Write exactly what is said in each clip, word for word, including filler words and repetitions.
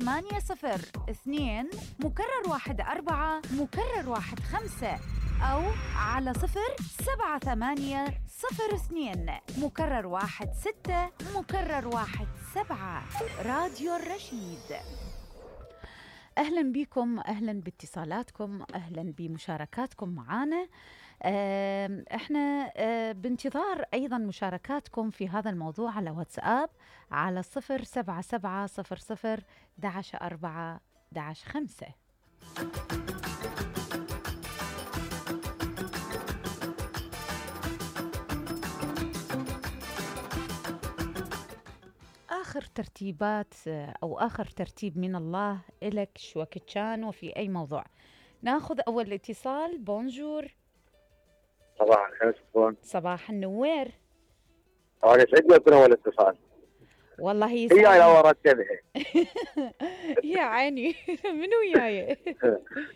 ثمانية صفر اثنين مكرر واحد أربعة مكرر واحد خمسة، أو على صفر سبعة ثمانية صفر اثنين مكرر واحد ستة مكرر واحد سبعة. راديو الرشيد. أهلاً بكم، أهلاً باتصالاتكم، أهلاً بمشاركاتكم معنا. احنا بانتظار أيضاً مشاركاتكم في هذا الموضوع على واتساب على صفر سبعة سبعة صفر صفر دعش أربعة دعش خمسة. آخر ترتيبات أو آخر ترتيب من الله إلك شو وقت كان وفي أي موضوع. ناخذ أول اتصال. بونجور. صباح الخير. صباح النوير. أنا سعيد أكون أول اتصال. والله هي هي لو رتبها. يا عيني. منو وياي؟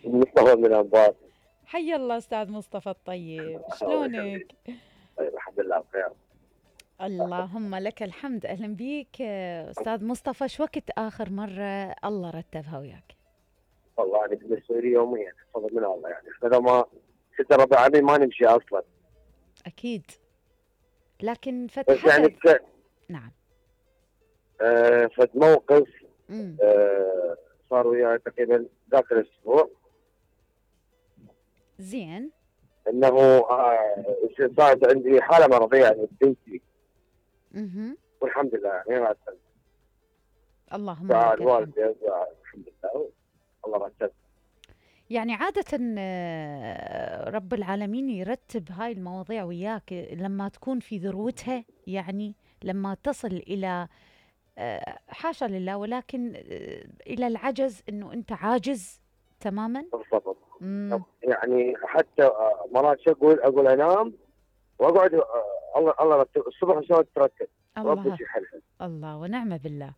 مصطفى من الأنبار. حي الله أستاذ مصطفى الطيب، شلونك؟ طيب الحمد لله بخير. اللهم لك الحمد. أهلا بيك أستاذ مصطفى. شو وقت آخر مرة الله رتبها وياك؟ والله أنا بالنسبة لي يوميا فضل من الله، يعني إذا ما ستة ربع عامين ما نمشي أصلا. أكيد، لكن فتحت يعني ك... نعم. آه فد موقف آه صار وياي تقريبا ذاك الأسبوع. زين. إنه آه صارت عندي حالة مرضية يعني بنتي. اها. والحمد لله يعني ما أتكلم. اللهم لك الحمد. الحمد لله الله رتب. يعني عادة رب العالمين يرتب هاي المواضيع وياك لما تكون في ذروتها، يعني لما تصل إلى حاشا لله ولكن إلى العجز، إنه أنت عاجز تماما. بالضبط. يعني حتى مرات شو أقول أقول أنام وأقعد الله الله رتب الصبح شلون ترتب. الله الله ونعم بالله.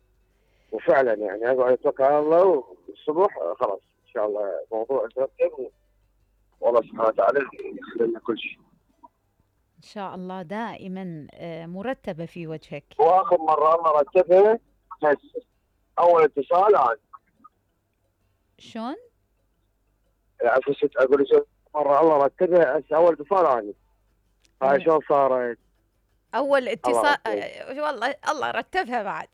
وفعلا يعني أقعد أتوكل على الله والصبح خلاص إن شاء الله موضوع يترتب والله سبحانه وتعالى يخلي لنا كل شيء. إن شاء الله دائما مرتبة في وجهك. وآخر مرة الله رتبها هسه أول اتصال عن. شلون؟ عفست أقول شو مرة الله رتبها هسه أول اتصال عني. هاي شلون صارت؟ أول اتصال والله الله رتبها بعد.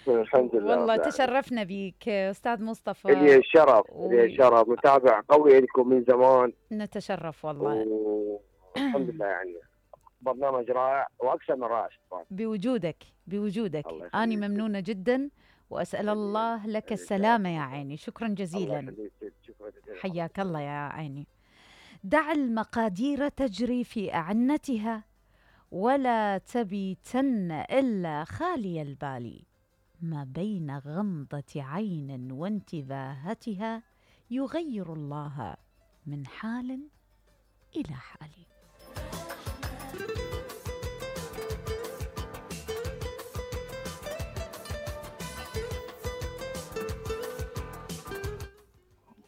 الحمد لله والله تشرفنا بيك أستاذ مصطفى. لي الشرف لي الشرف متابع قوي لكم من زمان. نتشرف والله. الحمد لله يعني برنامج رائع وأكثر من رائع. بوجودك بوجودك أنا ممنونة جدا وأسأل الله لك السلامة يا عيني. شكرا جزيلا. حياك الله يا عيني. دع المقادير تجري في أعنتها ولا تبيتن إلا خالي البال، ما بين غمضة عين وانتباهتها يغير الله من حال إلى حال.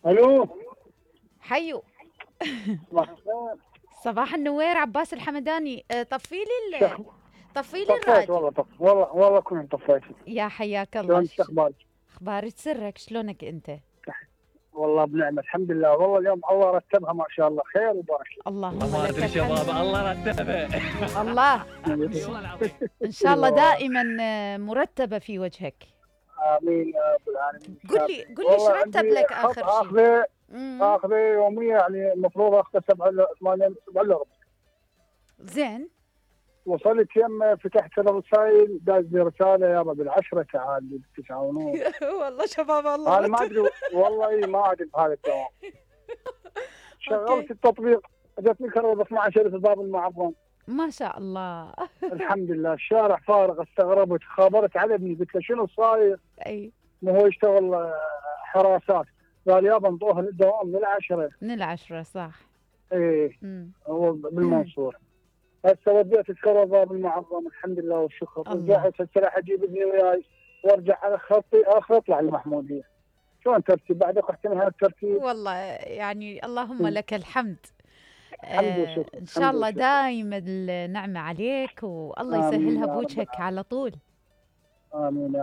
الو حيو. صباح النوير. عباس الحمداني. طفي لي طفي لي الراديو. والله طف والله والله كنت طفيت. يا حياك الله. شلونك؟ اخبارك؟ اخبارك سرك. شلونك انت؟ والله بنعمه الحمد لله. والله اليوم الله رتبها ما شاء الله خير وبارك. اللهم لك الحمد. شباب الله رتبها. الله ان شاء الله دائما مرتبه في وجهك. امين يا رب العالمين. قل لي قل لي ايش رتب لك اخر شيء؟ اخذه اخذه يوميه يعني المفروض اخذه سبعة ثمانية سبعة الا ربع. زين. وصلت يم فتحت الرسائل داز لي رساله يابا بالعشره تعال بالتسعه ونص. والله شباب الله. انا ما ادري والله ما ادري بهذا الدوام. شغلت التطبيق اجتني كهرباء اثني عشر في باب المعظم. ما شاء الله. الحمد لله. الشارع فارغ. استغربت خابرت على ابني قلت له شنو صاير؟ اي ما هو يشتغل حراسات. قال يابا نظهر الدوام من العشره. من العشره صح. ايه هو بالمنصور. هسه وديت الكهرباء بالمعظم الحمد لله والشكر. رجعت هسه راح اجيب ابني وياي وارجع على خطي اخر اطلع المحموديه. شلون ترتيب بعد اختي من هذا الترتيب؟ والله يعني اللهم لك الحمد. آه ان شاء الله دائما النعمه عليك والله يسهلها بوجهك على طول. امين.